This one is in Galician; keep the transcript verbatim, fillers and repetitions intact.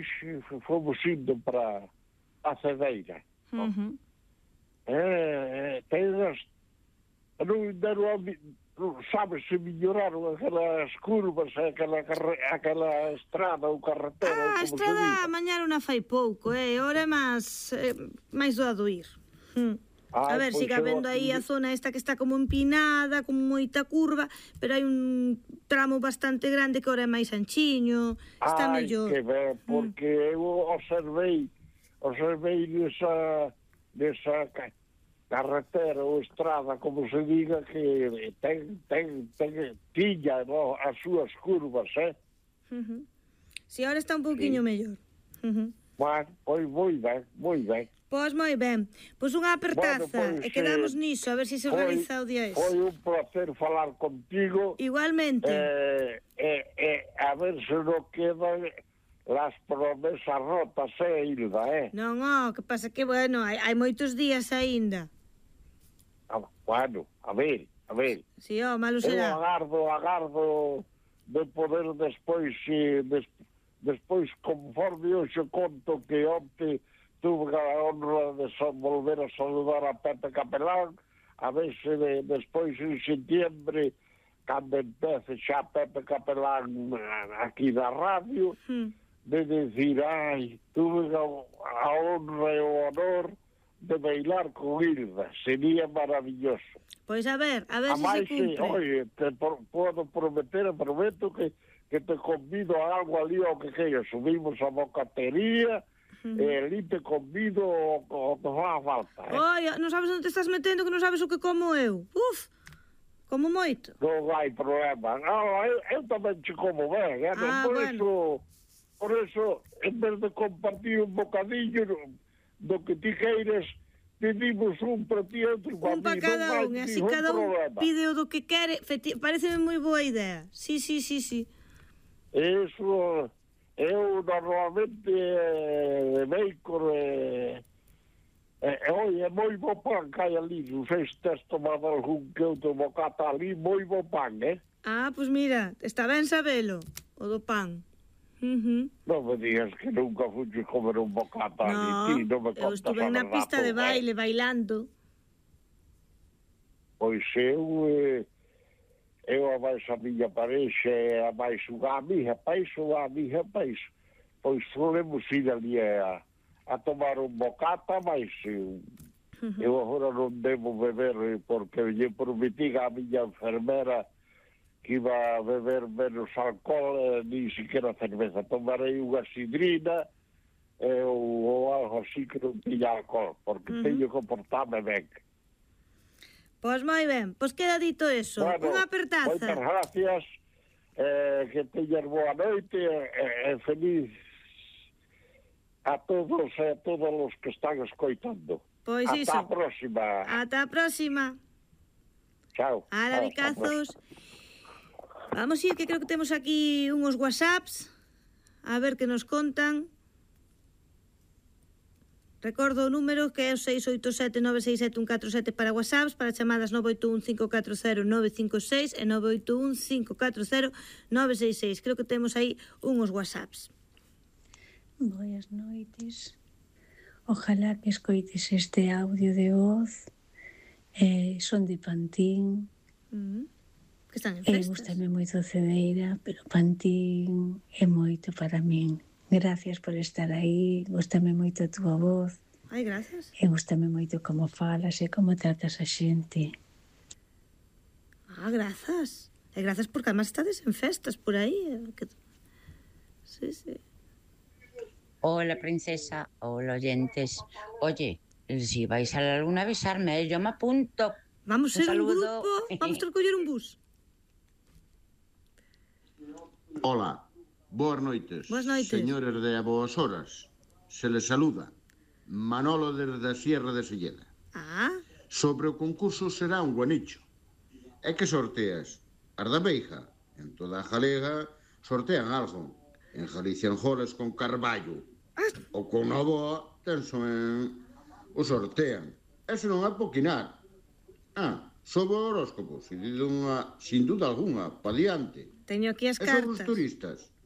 despois fomos indo para a Cedeira. Uh-huh. Eh, tenas, non, non sabes se melloraron aquelas curvas, aquela, aquela estrada ou carretera, Ah, a como estrada se diga. mañana non fai pouco, eh? Ora é máis, eh, máis doado ir. Hmm. A ver, siga vendo aí a zona esta que está como empinada, con moita curva, pero hai un tramo bastante grande que ora é máis anchiño, está Ai, mellor. que ben, porque mm. eu observei, observei nesa, nesa carretera ou estrada, como se diga, que ten, ten, ten, tiña, no, as súas curvas, eh? Uh-huh. Si, ahora está un pouquiño sí. mellor. Uh-huh. Bueno, pois moi ben, moi ben. Pois moi ben, pois unha apertaza, bueno, pois, e quedamos eh, niso, a ver se se foi, realiza o día ese. Foi un placer falar contigo. Igualmente. Eh, eh, eh, a ver se non quedan las promesas rotas, eh, Hilda, eh? Non, oh, que pasa que, bueno, hai, hai moitos días aínda. Ah, bueno, a ver, a ver. Si, oh, malo será. Eu agardo, agardo de poder despois, eh, des, despois, conforme eu xe conto que onte tuve a honra de so, volver a saludar a Pepe Capelán, a ver se de, despois en setiembre, cando empece xa Pepe Capelán aquí na radio, hmm. de decir, ai, tuve a, a honra e o honor de bailar con Hilda, sería maravilloso. Pois a ver, a ver a se se cumpre. Oye, te por, podo prometer, prometo que, que te convido a algo ali ao que queira, subimos a bocatería, Uh-huh. E ali te convido o que fa a falta, eh? Oia, non sabes onde te estás metendo, que non sabes o que como eu. Uf, como moito. Non hai problema. Non, eu, eu tamén che como ben, eh? Ah, por bueno. eso, por eso, en vez de compartir un bocadillo do que ti queires, pedimos un para ti e outro para un para cada un, e así cada un pide o do que quere. Pareceme moi boa idea. Sí, sí, sí, sí. Eso... Eu normalmente eh, de bacon e eh, eh, oi, é moi bo pan que hai ali, non sei se tes tomado algún que outro bocata ali, moi bo pan, eh? Ah, pois pues mira, está ben sabelo, o do pan. Uh-huh. Non me digas que nunca fuches comer un bocata no, ali, ti, non me contas a verdade. Eu estuve na pista de baile, eh? bailando. Pois eu... Eh, eu a máis a miña parexa e a máis unha amiga peixo ou a amiga peixo, pois solemos ir ali a, a tomar un bocata, mas eu, uh-huh. eu agora non devo beber porque lle prometí a miña enfermera que iba a beber menos alcohol, eh, ni siquiera cerveza. Tomarei unha sidrina eh, ou, ou algo así que non tiña alcohol, porque uh-huh. teño que portarme ben. Pois moi ben, pois queda dito eso, bueno, unha apertaza. Moitas gracias, eh, que teñas boa noite e eh, eh, feliz a todos e a todos os que están escoitando. Pois Ata iso. a próxima. Ata a próxima. Chao. Ala, bicazos. Vamos ir, que creo que temos aquí unhos whatsapps, a ver que nos contan. Recordo o número que é o seis oito sete nove seis sete un catro sete para whatsapps, para chamadas nove oito un cinco catro cero nove cinco seis e nove oito un cinco catro cero nove seis seis. Creo que temos aí unhos whatsapps. Boas noites. Ojalá que escoites este audio de voz. Eh, son de Pantín. Mm. Que están en Eh, festas. gústame moito Cedeira, pero Pantín é moito para min. Gracias por estar aí, gústame moito a túa voz. Ai, gracias. E gústame moito como falas e como tratas a xente. Ah, grazas. E grazas porque además estades en festas por aí. Que... Sí, sí. Hola, princesa. Hola, oyentes. Oye, si vais a la luna a avisarme, yo me apunto. Vamos a ser un, un grupo, vamos a recoller un bus. Hola. Boas noites, Boas noites, señores de A Boas Horas. Se les saluda Manolo desde a Sierra de Silleda. Ah. Sobre o concurso será un guanicho. É que sorteas as da Beija. En toda a Galega sortean algo. En Galicia en Jores con Carballo. Ah. Ou con Novoa, tenso en... o sortean. Eso non é poquinar. Ah, sobre o horóscopo, sin duda, sin duda alguna, pa diante. Teño aquí as e cartas. sobre os turistas.